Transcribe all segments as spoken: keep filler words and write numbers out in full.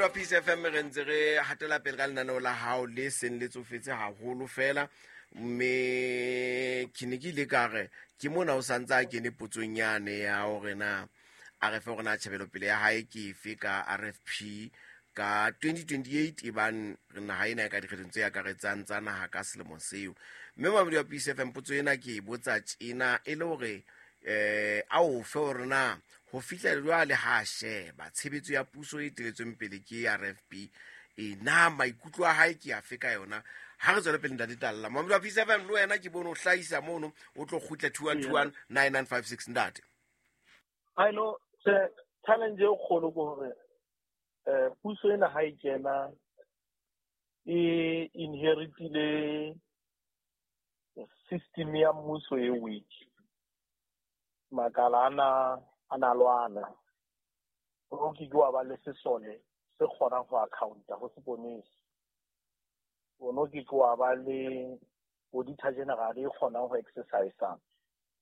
wa Peace F M re ntse re hatela pele ka lenaneo la hao le seng le tsofetse haholo fela mme ke ne ke ile ka re ke mona o santse a kene potsong yane ya hore na a re fe hore na tjhebelopele ya hae ke efe ka R F P ka twenty twenty-eight e bang naha ena e ka dikgethong tse akaretsang tsa naha ka selemo seo. Mme mamedi wa Peace F M potso ena ke e botsa tjena e le hore eh a o fe hore na ho fihla jwale ha sheba tshebetso ya puso e teletsweng pele ke R F P e na maikutlo a hae ke afe ka yona. Ha re tswele pele ntate Talla. Mamedi wa Peace F M le wena ke bone o hlahisa mono o tlo kgutla two one two one nine nine five six ntate. I know challenge e kgolo ke hore eh puso ena ha e kena e inheritile system ya mmuso e weak. Makala ana a na lwana. O ke ke wa ba le sesole se kgonang ho accounta ho seponesa. O no ke ke wa ba le auditor general e kgonang ho exercise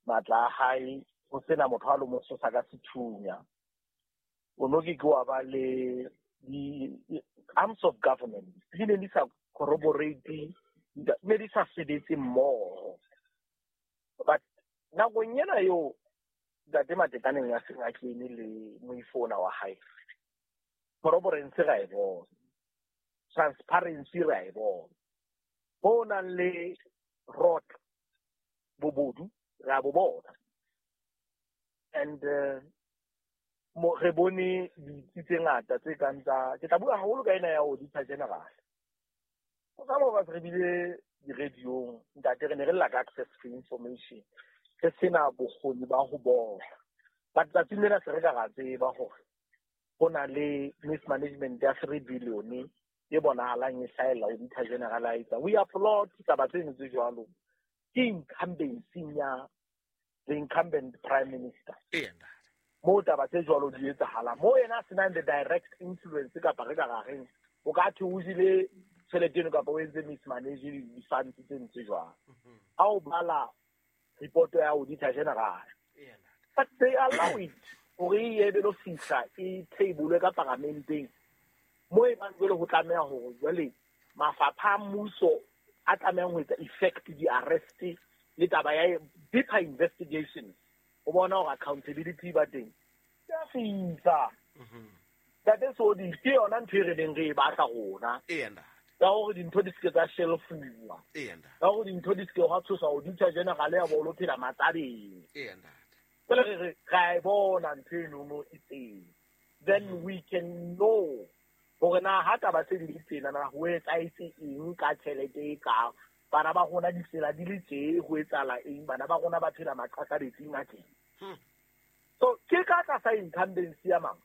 matla a hae ho sena motho a lo mo sosa ka sethunya. O no ke ke wa ba le di arms of government di ne di sa corroborate, ne di sa sebetse mmoho. But nakong ena eo ntate Matekaneng ya seng a kene le moifona wa hae, corroborance ra e bona, transparency ra e bona, ho nang le rot bobodu ra bo bona. And uh, mo re bone ditsi tse ngata tse kang tsa ke tla bua haholo ka ena ya auditor general. Ho ka mo ba re bile di-radiong ntate re ne re lla ka access to information, re sena bokgoni ba ho bona. But tsatsing lena se re ka ra tseba hore ho na le mismanagement ya three billion e bonahalang e hlahella auditor general a etsa. We applaud taba tseno tse jwalo. Ke incumbency ya the incumbent prime minister. Mo taba tse jwalo di etsahala mo yena a senang the direct influence kapa re ka ra reng o ka thwe o jele tjhelete eno kapa o entse mismanage di-funds tse ntse jwalo. Ha o bala report ya auditor general, but they allow it hore e ebe lo fihla e table ka paramenteng mo e bang jwale ho tlameha hore jwale mafapha a mmuso a tlamehang ho etsa effect di-arrest le taba ya deeper investigations o bona hore accountability ba teng ya fihla. Ntate Sodi ke yona ntho e re neng re e batla rona ka hore dintho di seke tsa shelfuwa, ka hore dintho di seke hwa tshosa auditor general ya bo lo phela matsabeng. Jwale re re ra e bona ntho eno e teng, then we can know hore na ha taba tse di le tsena na ho etsahetse eng ka tjhelete e ka bana ba rona ditsela di le tje ho etsahala eng, bana ba rona ba phela maqakabetsing a teng. So ke ka tlasa incumbency ya mang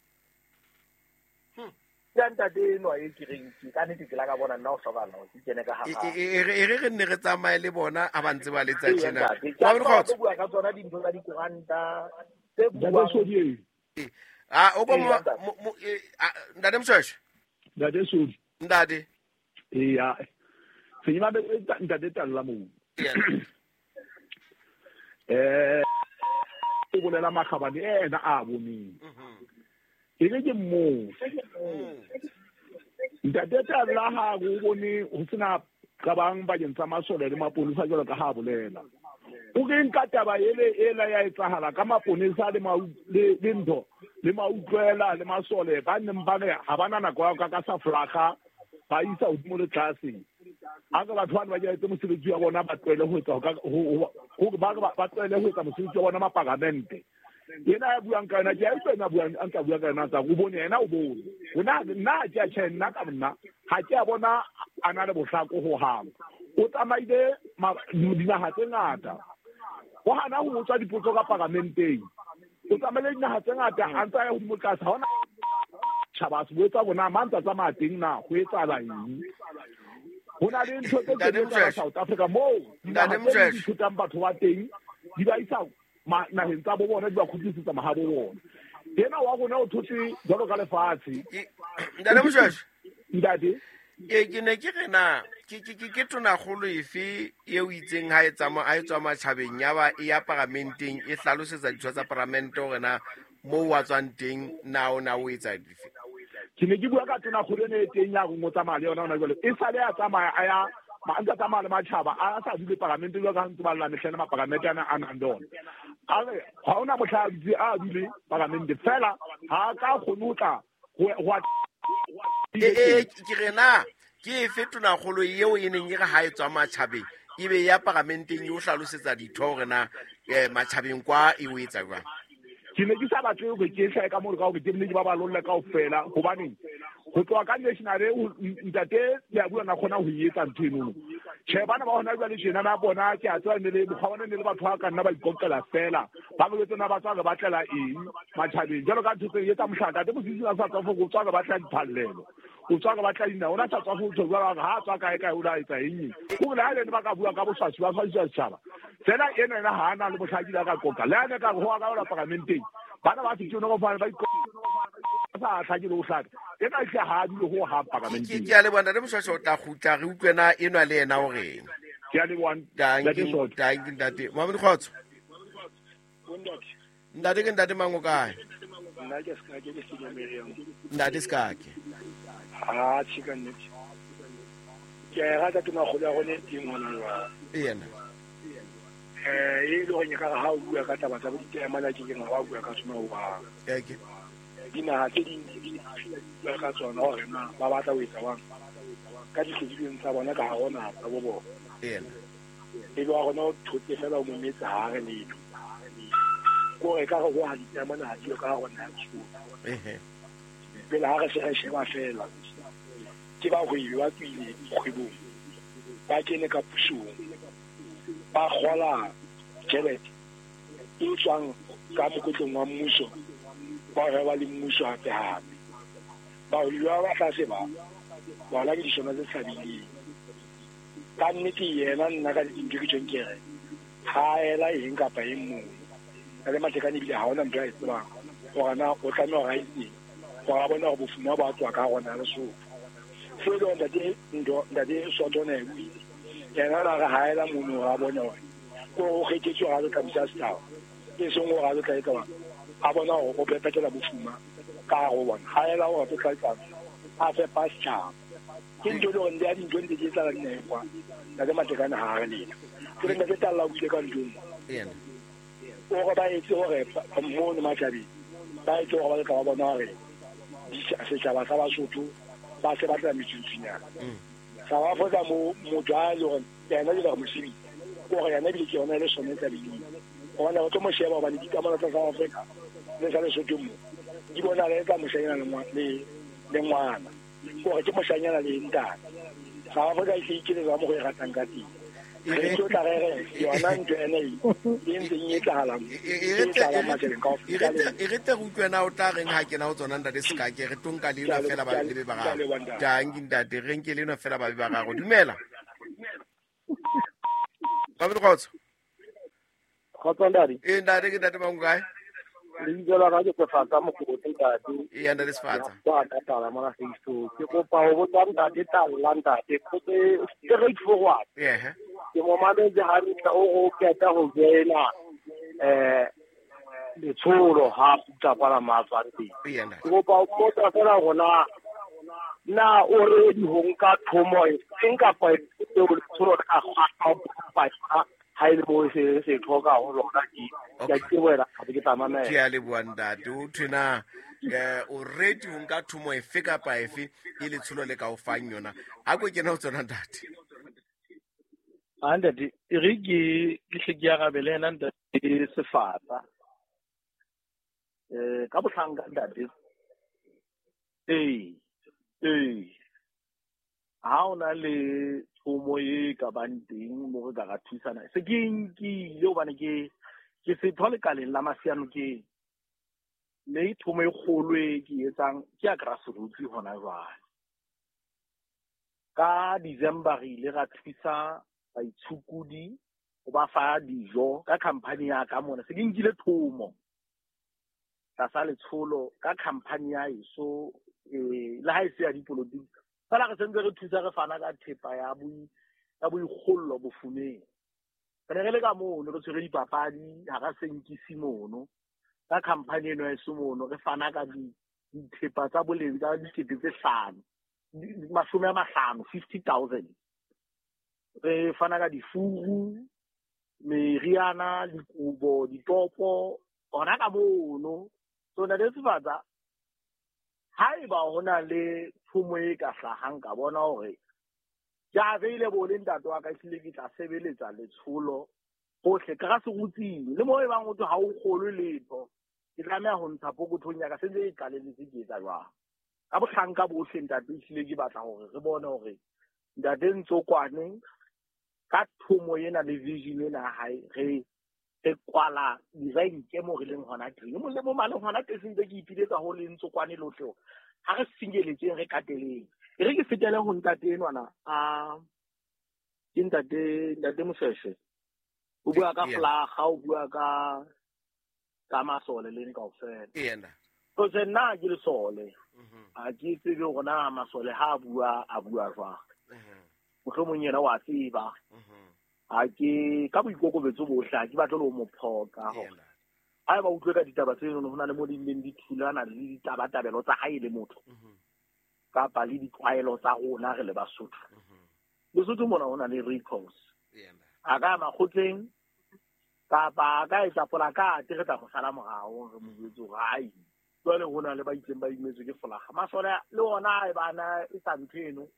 ya ntate enwa e ke reng ke ka nnete ke la ka bona nna o hlokahala hore ke kene ka hara. E re re nne re tsamaye le bona a ba ntse ba letsa tjena. Wa bua ka tsona dintho tsa dikoranta tse buang. Ah o ko ntate Mshweshwe. Ntate Sodi. Ntate. Eya. Se ba ntate Talla moo. Eh o bolela makgabane ena a boneng. E re ke moo. Ntate Talla ha o bone ho sena qabang bakeng tsa masole le maponesa jwalo ka ha bolela. O re nka taba ele ela ya etsahala ka maponesa le le le ntho le mautlwela le masole ba neng ba re ha bana nako ya ka ka sa flaga ba isa hodimo le tlase. A ka batho bana ba etse mosebetsi wa bona ba tlohele ho etsa ho ba ba tlohele ho etsa mosebetsi wa bona maparamente. Yena ya buang ka yona ke a utlwa yena buang a ntsa bua ka yona tsa o bone yena o bone. Hona nna ke a tjhe nna ka nna ha ke a bona a na le bohlako ho hang. O tsamaile dinaha tse ngata. O hana ho utswa dipotso ka paramenteng. O tsamaile dinaha tse ngata a ntsa ya hodimo tlase ha ona tjhaba se botsa bona mang tsa tsamaya teng na ho etsahala eng. Ho na le ntho tse tse South Africa moo ntate Mshweshwe ithutang batho ba teng di ba isa naheng tsa bo bona di ba kgutlisetsa mahabo bona. Yena wa rona o thotse jwalo ka lefatshe. Ntate Mshweshwe. Ntate e ke ne ke re na ke ke ke tonakgolo efe eo itseng ha e tsamaya ha e tswa matjhabeng ya ba e ya paramenteng e hlalosetsa ditho tsa paramente hore na moo wa tswang teng na o na o etsa dife. Ke ne ke bua ka tonakgolo ene e teng ya reng o tsamaya le yona hona jwale. E sale a tsamaya a ya ma ntse a tsamaya le matjhaba a sa dule parlamente jwalo ka ha ntse ba lla mehleng maparlamente ana a nang le ona. A re ha hona mohla a dutse a dule parlamente fela ha ka kgone ho tla ho a e ke re na ke efe tonakgolo eo e neng e re ha e tswa matjhabeng e be ya parlamenteng e o hlalosetsa ditho hore na matjhabeng kwa e o etsa jwang? Ke ne ke sa batle hore ke hlahe ka moo ka hore ke nne ke ba balolle kaofela hobaneng ho tloha ka national ntate le a bua na kgona ho e etsa ntho enono. Tjhe, bana ba hona jwale tjena na bona ke a tseba ne le mokgwa bona ne le batho ba ka nna ba ikoqela fela ba boletse na ba tswa re batlela eng matjhabeng jwalo ka ntho tse etsa mohlala ntate Mosisi a sa tswa go tswa re batla diphallelo o tswa re batla dina ona sa tswa go tswa jwalo ha tswa kae kae o la etsa eng o le ha le ba ka bua ka boswasi ba swasisa setjhaba fela ena ena ha ana le bohlaki la ka qoqa le ane ka ho ka ola parlamenteng bana ba fitse no go fana ba sa tlhakile o hlaka ena ke ha dule ho ha parlamenteng. Ke a leboha ntate Moshwashwa, o tla kgutla re utlwe na enwa le yena o reng. Ke a leboha ntate Soto. Danki ntate. Mamedi Kgotso. Ntate ke ntate mang o kae? Nna ke Sekake ke Senyameriang. Ntate Sekake. Ha tjhe ka nnete. Ke a e rata tonakgolo ya rona e teng hona jwale. Yena. Eh e le hore ka ha o bua ka taba tsa bo ditaemane ke keng ha wa bua ka tsona ho Ke dinaha tse ding di bua ka tsona hore na ba batla ho etsa jwang ka dihlodilweng tsa bona ka hare ho naha tsa bo bona. Yena. E le wa rona o thotse fela o mometse ha re letho. Kore ka re ho ha ditaemane ha diyo ka hare ho naha ya. Pele ha re se re sheba fela ke bahwebi ba tswile kgwebong ba kene ka pusong ba kgola tjhelete e tswang ka mokotleng wa mmuso ba reba le mmuso hape hape. Bahwebi ba ba tlase ba bona ke disona tse tshabileng. Ka nnete yena nna ka dintho ke tjhong ke re ha ela eng kapa eng mono. Ka le Matekane ebile ha hona ntho a e tsebang hore na o tlameha hore a etseng hore a bone hore bofuma bo a tswa ka hare ho Lesotho. Seo e le hore ntate ntho ntate Soto o ne a e buile. Yena o re ha ela mono hore a bone hore ko o kgethetswe hore a tlo tla busa setjhaba e seng hore a tlo tla etsa a bona hore o pepetela bofuma ka hare ho bona. Ha ela hore o tla etsa a fepa setjhaba. Ke ntho e le hore ya dintho ntse di etsahala dinaheng kwa ntate Matekane ha re letho. Ke re ntate Talla o buile ka ntho e nngwe. Hore ba etse hore mono matjhabeng ba etse hore ba tla ba bona hore setjhaba sa Basotho ba se batla metsuntsunyana. Sa ba fotsa mo motho a le hore yena le re mosebetsi hore yena ebile ke yona e le sone tsa bileng. Hobane re tlo mo sheba hobane dikamano tsa South Africa le sa Lesotho mo di bonala e ka moshanyana le le ngwana hore ke moshanyana le ntate. South Africa e se ikeletsa mo go e ratang ka teng. Re tlo tla re re yona ntho ena e e ntseng e etsahalang e etsahalang matjhabeng kaofela. E re tle re utlwe na o tla reng ha kena ho tsona ntate Sekake re tlo nka le enwa fela ba le be bararo. Danki ntate re nke le enwa fela ba be bararo. Dumela. Mamedi Kgotso. Kgotso ntate. Eh ntate ke ntate mang o kae? Lebitso la ka ke Sefatsa Mokgotsi ntate. Eya ntate Sefatsa. Ke ka tala mona Facebook. Ke kopa ho botsa ntate Talla ntate potso e straight forward. Ehe. Ke mo mametse hantle o o qeta ho joina eh letsholo ha kgutla kwana matswang teng. Eya ntate. Ke kopa ho botsa fela hore na na o ready ho nka thomo e feng kapa eo letsholo le ka kgwatha ho ha e le mo se se tlhoka ho lona ke ke a ke wena ha ke tla mamela. Ke a leboha ntate. O thwe na eh o ready ho nka thomo efe kapa efe e letsholo le ka o fang yona. A ko kena ho tsona ntate. A ntate e re ke ke hle ke arabele yena ntate Sefatsa. Eh ka bohlanka ntate. Ee ee ha ona le thomo e ka bang teng mo re ka ra thusana. Se ke nkile hobane ke ke setho lekaleng la Masianokeng. Mme thomo e kgolo e ke etsang ke ya grassroots hona jwale. Ka December re ile ra thusa baitshokodi ho ba fa dijo ka company ya ka mona. Se ke nkile thomo tlasa letsholo ka company ya eso eh le ha e se ya dipolotiki. Fela re sentse re thusa re fana ka thepa ya boi ya boikgollo bofumeng. Re ne re le ka mono re tshwere dipapadi hara senkisi mono ka company eno ya eso mono re fana ka di dithepa tsa boleng tsa dikete tse hlano mashome a mahlano fifty thousand. Re fana ka difuru, meriana, dikobo, ditopo hona ka mono. So Ntate Sefatsa, haeba ho na le thomo e ka hlahang ka bona hore ke available le ntate wa ka, ehlile ke tla sebeletsa letsholo hohle grassrootsing le moo e bang ho thwe ha o kgolwe letho, ke tlameha ho ntsha pokothong ya ka se ntse e qalelletse ke etsa jwang. Ka bohlanka bohle ntate, ehlile ke batla hore re bone hore ntate Ntsokwane ka thomo ena le vision ena ya hae re re kwala design ke mo re leng hona teng. Mo le mo maleng hona teng se ntse ke ipiletsa ho le Ntsokwane lohle hore ha re finyeletseng re kateleng. E re ke fetele ho ntate enwana a ke ntate ntate Moshweshwe. O bua ka flaga, o bua ka ka masole le kaofela. Yena. Because nna ke lesole. A ke tsebe hore na masole ha a bua a bua jwang. Mohlomong yena wa tseba. Ha ke ka boikokobetso bohle ha ke batle le ho mo phoqa hore ha eba utlwe ka ditaba tseno ho na le mo di leng di thulana le ditabatabelo tsa hae le motho kapa le ditlwaelo tsa rona re le Basotho. Lesotho mona ho na le recourse. A ka makgotleng kapa a ka etsa polakate re tla mo sala morao re mo jwetse hore ai jwale ho na le ba itseng ba imetswe ke folaga. Masole le ona e bana e sa ntho eno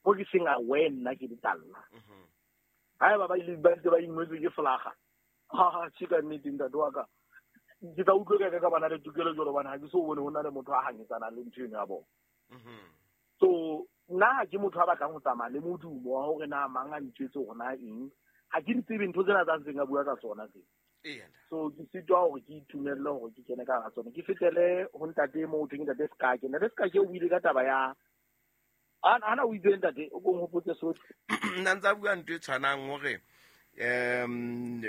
mo ke seng aware nna ke ditalla. Haeba ba ile ba ntse ba imetswe ke folaga, ha tjhe ka nnete ntate wa ka ke tla utlwe ka ka bana le tokelo jwalo hobane ha ke so bone ho na le motho a hanyetsanang le ntho eno ya bona. So nna ha ke motho a batlang ho tsamaya le modumo wa hore na mang a ntjwetse hore na eng. Ha ke di tsebe ntho tsena tsa ntseng a bua ka tsona tse. So ke sitwa hore ke itumelle hore ke kene ka hara tsona. Ke fetele ho ntate mo ho thweng ntate Sekake. Ntate Sekake o buile ka taba ya ana o itse ntate o kong hopotse sohle. Nna ntsa bua ntho e tshwanang hore um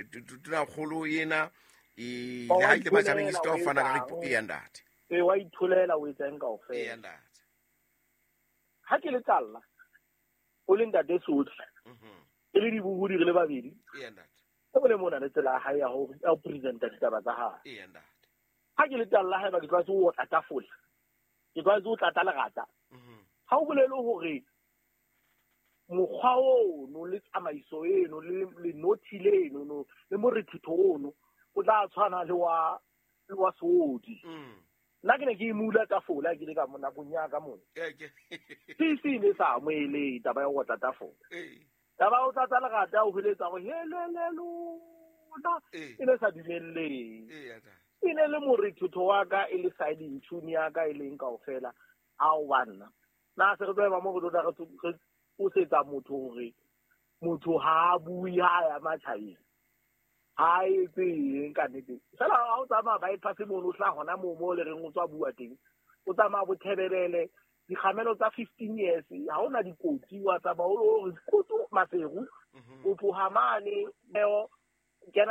tonakgolo ena e le ha ile matjhabeng e sitwa ho fana ka report ya ntate. E wa itholela o etsa eng kaofela. Ya ntate. Ha ke le talla o le ntate sohle. E le dibohodi re le babedi. Ya ntate. E bole mona le tsela ya hae ya ho ya ho presenta ditaba tsa hae. Ya ntate. Ha ke le talla haeba ke tlwaetse ho otla tafole, ke tlwaetse ho tlatsa lerata. Ha o bolele hore mokgwa ono le tsamaiso eno le lenothi leno no le morethetho ono o tla tshwana le wa le wa Seodi. Nna ke ne ke imula tafole ha ke le ka mo nakong ya ka mona. Se se ne sa amohele taba ya ho otla tafole. Taba ya ho tlatsa lerata o hweletsa hore helele lona e ne sa dumelleng. E ne le morethetho wa ka e le side tune ya ka e leng kaofela ao banna. Na se re tlo ema mo re tlo tla re qosetsa motho hore motho ha a bue ha ya matjhabeng. Ha etse eng ka nnete. Fela ha o tsamaya bypass mono o hlaha hona moo mo le reng o tswa bua teng. O tsamaya bothebelele dikgamelo tsa fifteen years ha hona dikotsi wa tsamaya o re kotso Maseru o tloha mane neo kena